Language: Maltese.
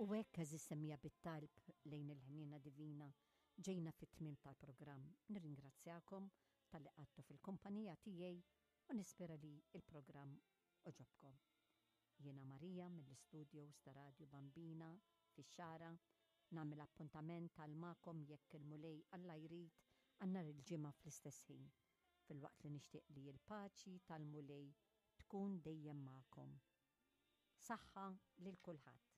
U hekk għeżież semmiegħa bit-talb lejn il-ħniena divina ġejna fit-tmiem tal-programm. Nirringrazzjakom talli qgħadtu fil-kumpanija tiegħi u nispera li l-programm għoġobkom. Jiena Maria mill-istudios ta' Radju Bambina fix-Xagħra, nagħmel appuntament għal magħkom jekk il-Mulej Alla jrid għal nhar il-Ġimgħa fl-istess ħin, filwaqt li nixtieq li l-paċi tal-Mulej tkun dejjem magħkom. Saħħa lil kulħadd.